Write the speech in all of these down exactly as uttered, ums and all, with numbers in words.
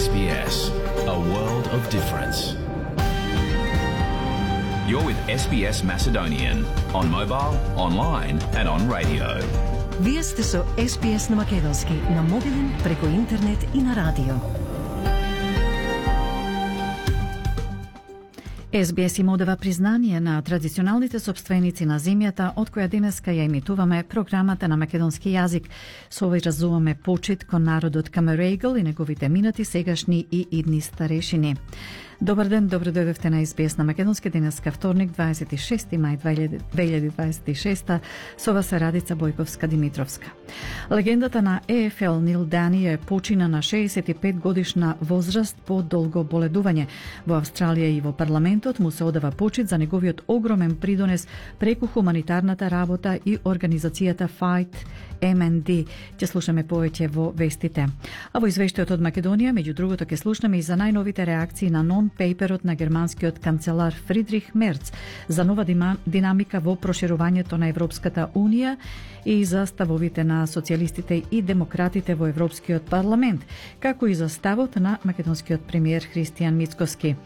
S B S, a world of difference. You're with S B S Macedonian on mobile, online and on radio. Вие сте со С Б С на македонски, на мобилен, преку интернет и на радио. С Б С им одава признание на традиционалните собственици на земјата, од која денеска ја емитуваме програмата на македонски јазик. Со овој разуваме почит кон народот Камерегл и неговите минати, сегашни и идни старешини. Добар ден, добро дојдовте на С Б С на македонски, денеска вторник, дваесет и шести мај две илјади дваесет и шеста, со вас е Радица Бојковска-Димитровска. Легендата на Е Ф Л Нил Дани е почина на шеесет и пет годишна возраст по долго боледување. Во Австралија и во парламентот му се одава почит за неговиот огромен придонес преку хуманитарната работа и организацијата Fight М Н Д. Ќе слушаме повеќе во вестите. А во извештајот од Македонија, меѓу другото, ќе слушаме и за најновите реакции на нон-пейперот на германскиот канцелар Фридрих Мерц за нова динамика во проширувањето на Европската Унија и за ставовите на социјалистите и демократите во Европскиот парламент, како и за ставот на македонскиот премиер Христијан Мицкоски.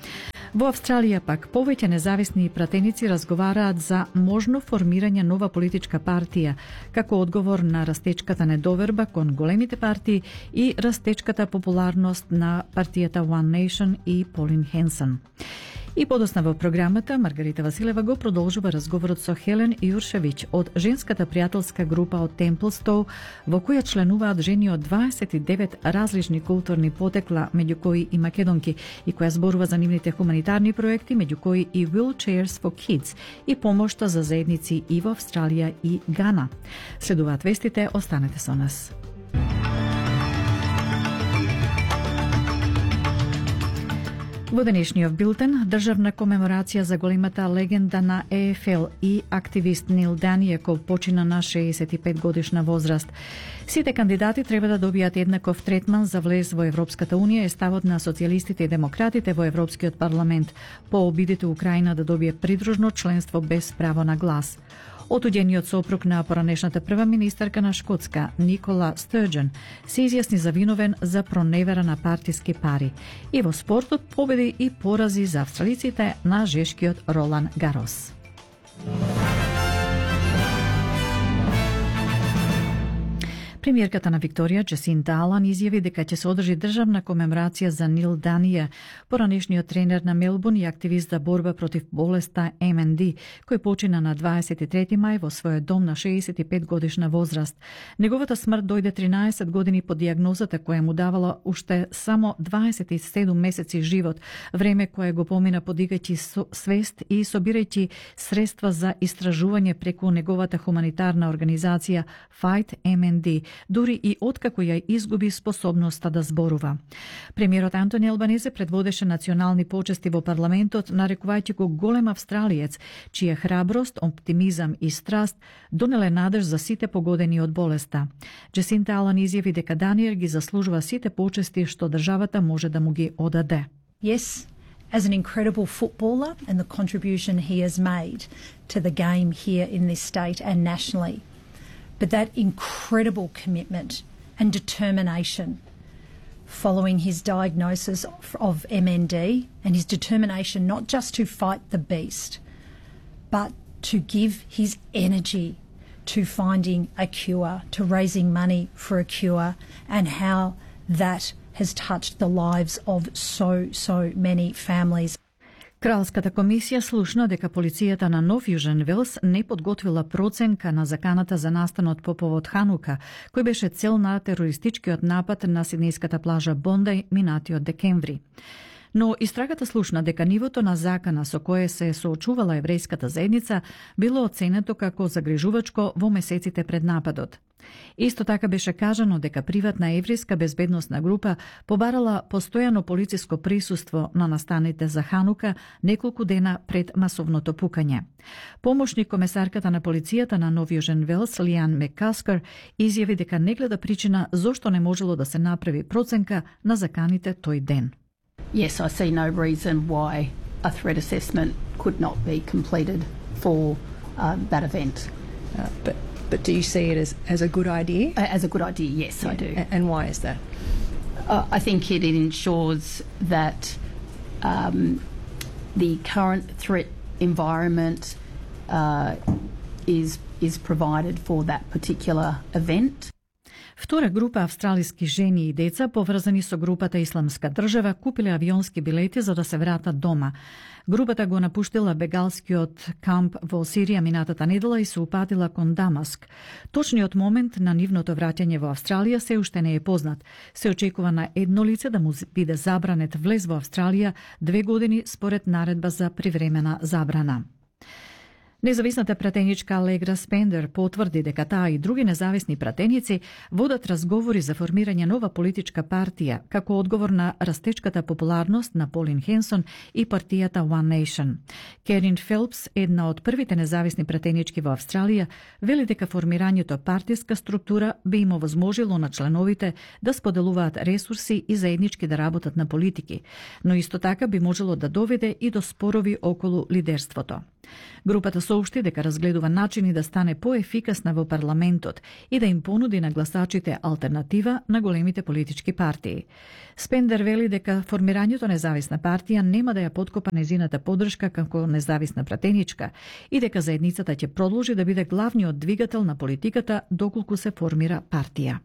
Во Австралија пак повеќе независни пратеници разговараат за можно формирање нова политичка партија, како одговор на растечката недоверба кон големите партии и растечката популарност на партијата One Nation и Полин Хенсен. И подосна во програмата, Маргарита Василева го продолжува разговорот со Хелен Јуршевиќ од женската пријателска група од Темплстоу, во која членуваат жени од дваесет и девет различни културни потекла, меѓу кои и македонки, и која зборува за нивните хуманитарни проекти, меѓу кои и Wheelchairs for Kids и помошта за заедници и во Австралија и Гана. Следуваат вестите, останете со нас. Во денешниот билтен, државна комеморација за големата легенда на Е Ф Л и активист Нил Дани, кој почина на шеесет и пет годишна возраст. Сите кандидати треба да добијат еднаков третман за влез во Европската Унија, е ставот на социјалистите и демократите во Европскиот парламент по обидите Украина да добие придружно членство без право на глас. Отуѓениот сопруг на поранешната прва министарка на Шкотска, Никола Стърджен, се изјасни за виновен за проневера на партиски пари. И во спортот победи и порази за австралиците на жешкиот Ролан Гарос. Премиерката на Викторија, Джасинта Алан, изјави дека ќе се одржи државна комеморација за Нил Данија, поранешниот тренер на Мелбурн и активист за борба против болеста М Н Д, кој почина на дваесет и трети мај во својот дом на шеесет и пет годишна возраст. Неговата смрт дојде тринаесет години по дијагнозата која му давала уште само дваесет и седум месеци живот, време кое го помина подигајќи свест и собирајќи средства за истражување преку неговата хуманитарна организација Fight М Н Д, дури и откако ја изгуби способноста да зборува. Премиерот Антони Албанезе предводеше национални почести во парламентот, нарекувајќи го голем австралиец, чија храброст, оптимизам и страст донеле надеж за сите погодени од болеста. Джасинта Алан изјави дека Даниел ги заслужува сите почести што државата може да му ги одаде. Yes, as an incredible footballer and the contribution he has made to the game here in this state and nationally. But that incredible commitment and determination following his diagnosis of M N D, and his determination not just to fight the beast, but to give his energy to finding a cure, to raising money for a cure, and how that has touched the lives of so, so many families. Кралската комисија слушна дека полицијата на Нов Јужен Велс не подготвила проценка на заканата за настанот по повод Ханука, кој беше цел на терористичкиот напад на сиднејската плажа Бондај минатиот декември. Но истрагата слушна дека нивото на закана со кое се соочувала еврејската заедница било оценето како загрижувачко во месеците пред нападот. Исто така беше кажано дека приватна еврејска безбедносна група побарала постојано полициско присуство на настаните за Ханука неколку дена пред масовното пукање. Помошник комесарката на полицијата на Нов Јужен Велс, Лиан Меккаскер, изјави дека не гледа причина зошто не можело да се направи проценка на заканите тој ден. Yes, I see no reason why a threat assessment could not be completed for uh, that event. Uh, but But do you see it as, as a good idea? As a good idea, yes, yeah. I do. And why is that? Uh, I think it ensures that um, the current threat environment uh, is is provided for that particular event. Втора група австралиски жени и деца поврзани со групата Исламска држава купиле авионски билети за да се вратат дома. Групата го напуштила бегалскиот камп во Сирија минатата недела и се упатила кон Дамаск. Точниот момент на нивното враќање во Австралија се уште не е познат. Се очекува на едно лице да му биде забранет влез во Австралија две години според наредба за привремена забрана. Независната пратеничка Алегра Спендер потврди дека таа и други независни пратеници водат разговори за формирање нова политичка партија, како одговор на растечката популарност на Полин Хенсон и партијата One Nation. Керин Фелпс, една од првите независни пратенички во Австралија, вели дека формирањето партиска структура би им овозможило на членовите да споделуваат ресурси и заеднички да работат на политики, но исто така би можело да доведе и до спорови околу лидерството. Групата соопшти дека разгледува начини да стане поефикасна во парламентот и да им понуди на гласачите алтернатива на големите политички партии. Спендер вели дека формирањето независна партија нема да ја подкопа незината поддршка како независна пратеничка и дека заедницата ќе продолжи да биде главниот двигател на политиката доколку се формира партија.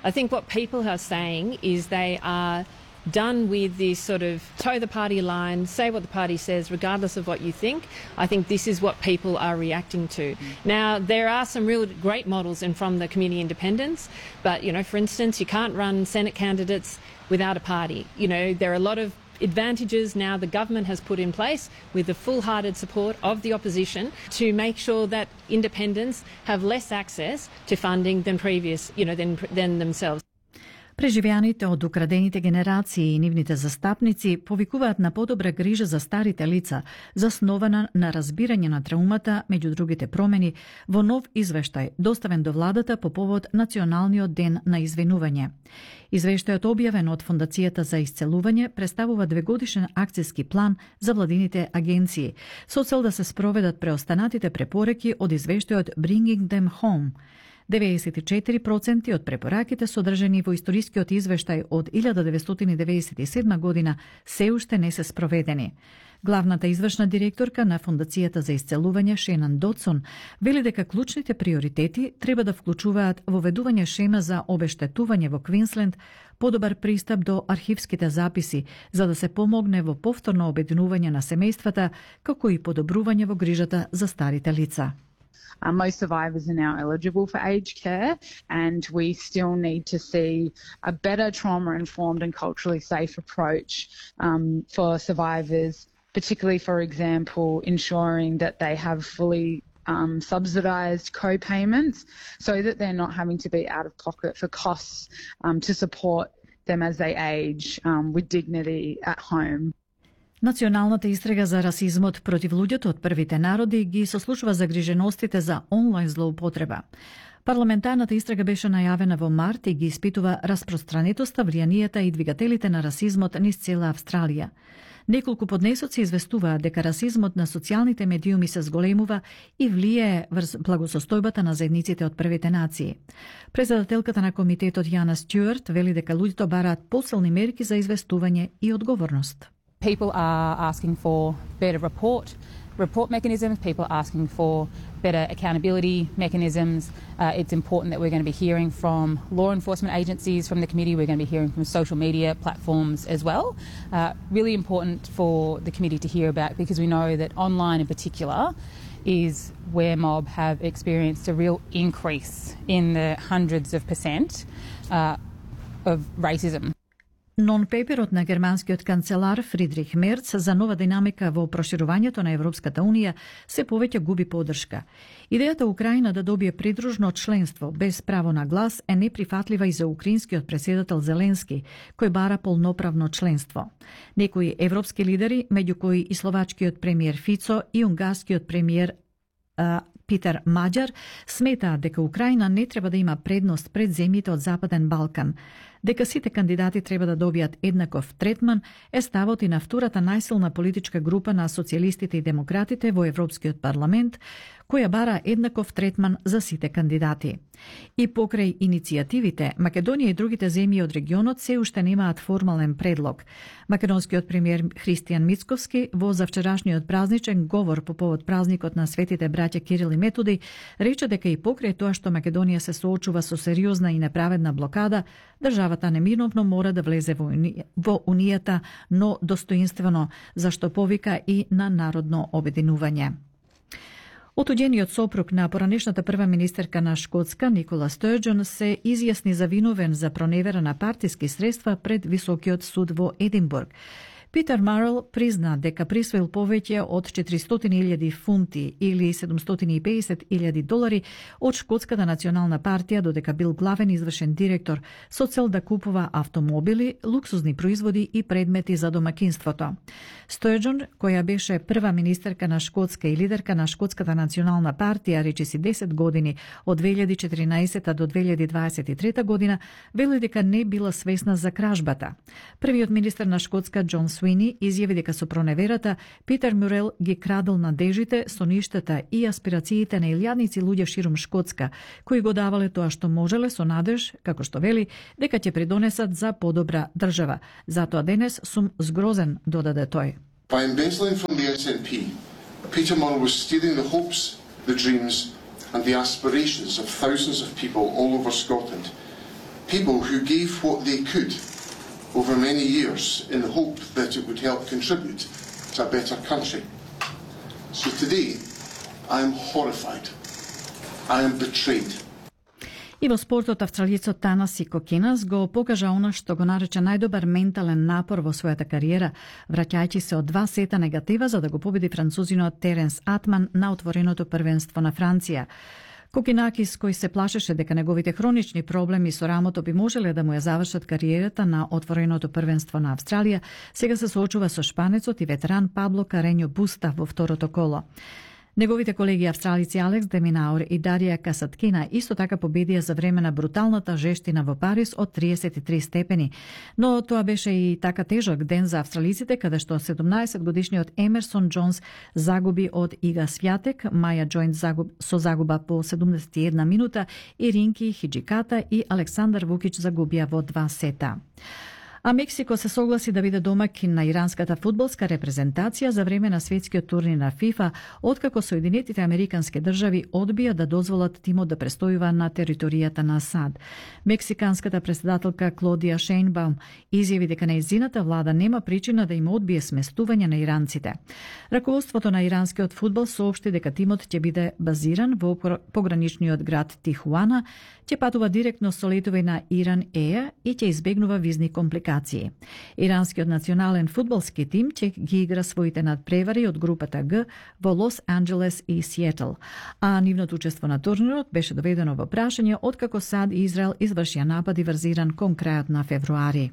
I think what people are saying is they are done with this sort of toe the party line, say what the party says regardless of what you think. I think this is what people are reacting to. Now, there are some real great models in from the community independents, but, you know, for instance, you can't run Senate candidates without a party. You know, there are a lot of advantages now the government has put in place with the full-hearted support of the opposition to make sure that independents have less access to funding than previous, you know, than, than themselves. Преживеаните од украдените генерации и нивните застапници повикуваат на подобра грижа за старите лица, заснована на разбирање на траумата, меѓу другите промени, во нов извештај, доставен до владата по повод Националниот ден на извинување. Извештајот објавен од Фондацијата за исцелување представува двегодишен акцијски план за владините агенции, со цел да се спроведат преостанатите препораки од извештајот Bringing Them Home. деветдесет и четири проценти од препораките содржани во историскиот извештај од илјада деветстотини деведесет и седма година се уште не се спроведени. Главната извршна директорка на Фондацијата за исцелување Шенан Дотсон вели дека клучните приоритети треба да вклучуваат воведување шема за обештетување во Квинсленд, подобар пристап до архивските записи, за да се помогне во повторно обединување на семејствата, како и подобрување во грижата за старите лица. Uh, most survivors are now eligible for aged care, and we still need to see a better trauma-informed and culturally safe approach um, for survivors, particularly, for example, ensuring that they have fully um, subsidised co-payments so that they're not having to be out of pocket for costs um, to support them as they age um, with dignity at home. Националната истрага за расизмот против луѓето од првите народи ги сослушува загриженостите за онлайн злоупотреба. Парламентарната истрага беше најавена во март и ги испитува распространетоста, влијанието и двигателите на расизмот низ цела Австралија. Неколку поднесоци известуваат дека расизмот на социјалните медиуми се зголемува и влијае врз благосостојбата на заедниците од првите нации. Председателката на комитетот Јана Стюарт вели дека луѓето бараат посилни мерки за известување и одговорност. People are asking for better report, report mechanisms. People are asking for better accountability mechanisms. Uh, it's important that we're going to be hearing from law enforcement agencies from the committee. We're going to be hearing from social media platforms as well. Uh, really important for the committee to hear about, because we know that online in particular is where mob have experienced a real increase in the hundreds of percent uh, of racism. Нон-пеперот на германскиот канцелар Фридрих Мерц за нова динамика во проширувањето на Европската Унија се повеќе губи поддршка. Идејата Украина да добие придружно членство без право на глас е неприфатлива и за украинскиот претседател Зеленски, кој бара полноправно членство. Некои европски лидери, меѓу кои и словачкиот премиер Фицо и унгарскиот премиер а, Питер Маџар, сметаат дека Украина не треба да има предност пред земјите од Западен Балкан. дека сите кандидати треба да добијат еднаков третман е ставот и на втората најсилна политичка група на социјалистите и демократите во Европскиот парламент, која бара еднаков третман за сите кандидати. И покрај иницијативите, Македонија и другите земји од регионот се уште немаат формален предлог. Македонскиот премиер Христијан Мицковски во завчерашниот празничен говор по повод празникот на светите браќа Кирил и Методи рече дека и покрај тоа што Македонија се соочува со сериозна и неправедна блокада, државата неминовно мора да влезе во, уни... во Унијата, но достоинствено, зашто повика и на народно обединување. Отуѓениот сопруг на поранешната прва министерка на Шкотска, Никола Стурджон, се изјасни завиновен за проневера на партиски средства пред Високиот суд во Единбург. Питер Марел призна дека присвоил повеќе од четиристотини илјади фунти или седумстотини и педесет илјади долари од Шкотската национална партија, додека бил главен извршен директор со цел да купува автомобили, луксузни производи и предмети за домакинството. Стурджон, која беше прва министерка на Шкотска и лидерка на Шкотската национална партија речиси десет години од две илјади и четиринаесета до две илјади дваесет и трета година, вели дека не била свесна за кражбата. Првиот министер на Шкотска, Џон Суини, изјави дека со проневерата Питер Мурел ги крадел надежите, соништата и аспирациите на илјадници луѓе ширум Шкотска, кои го давале тоа што можеле со надеж, како што вели, дека ќе придонесат за подобра држава. Затоа денес сум згрозен, додаде тој. By embezzling from the S N P, Peter Murrell was stealing the hopes, the dreams and the aspirations of thousands of people all over Scotland. People who gave what they could over many years in the hope that it would help contribute to a better country. So today, I am horrified. I am betrayed. И во спортот австралијецот Танаси Кокинас го покажа она што го нарече најдобар ментален напор во својата кариера, враќајќи се од два сета негатива за да го победи французинот Теренс Атман на отвореното првенство на Франција. Кокинакис, кој се плашеше дека неговите хронични проблеми со рамото би можеле да му ја завршат кариерата на отвореното првенство на Австралија, сега се соочува со шпанецот и ветеран Пабло Карењо Буста во второто коло. Неговите колеги австралици Алекс Деминаур и Дарија Касаткина исто така победија за време на бруталната жештина во Париз од триесет и три степени, но тоа беше и така тежок ден за австралиците, каде што седумнаесет годишниот Емерсон Џонс загуби од Ига Свјатек, Маја Џоинт загуб, со загуба по седумдесет и една минута и Ринки Хиџиката и Александар Вукич загубија во два сета. А Мексико се согласи да биде домакин на иранската фудбалска репрезентација за време на светскиот турнир на ФИФА, откако Соединетите Американски држави одбија да дозволат тимот да престојува на територијата на САД. Мексиканската председателка Клодија Шејнбаум изјави дека нејзината влада нема причина да им одбие сместување на иранците. Раководството на иранскиот фудбал соопшти дека тимот ќе биде базиран во пограничниот град Тихуана, ќе патува директно со летови на Иран Еја и ќе избегнува визни компликации. Иранскиот национален фудбалски тим ќе ги игра своите надпревари од групата Г во Лос Анџелес и Сиетл, а нивното учество на турнирот беше доведено во прашање откако САД и Израел извршија напади врз Иран кон крајот на февруари.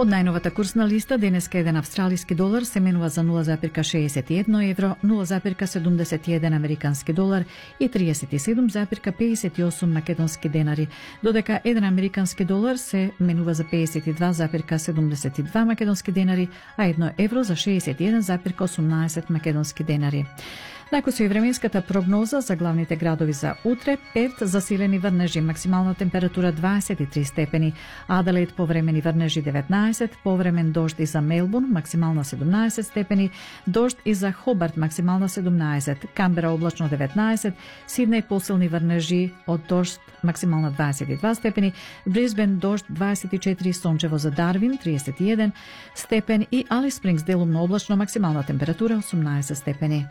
Од најновата курсна листа, денеска еден австралиски долар се менува за нула запирка шеесет и едно евро, нула запирка седумдесет и еден американски долар и триесет и седум запирка педесет и осум македонски денари, додека еден американски долар се менува за педесет и два запирка седумдесет и два македонски денари, а едно евро за шеесет и еден запирка осумнаесет македонски денари. Најко со и временската прогноза за главните градови за утре: Перт засилени врнежи, максимална температура дваесет и три степени, Аделаид повремени врнежи деветнаесет, повремен дожд и за Мелбурн, максимална седумнаесет степени, дожд и за Хобарт, максимална седумнаесет, Камбера облачно деветнаесет, Сиднеј посилни врнежи од дожд, максимална дваесет и два степени, Брисбен дожд дваесет и четири, сончево за Дарвин триесет и еден степен и Алис Спрингс делумно облачно, максимална температура осумнаесет степени.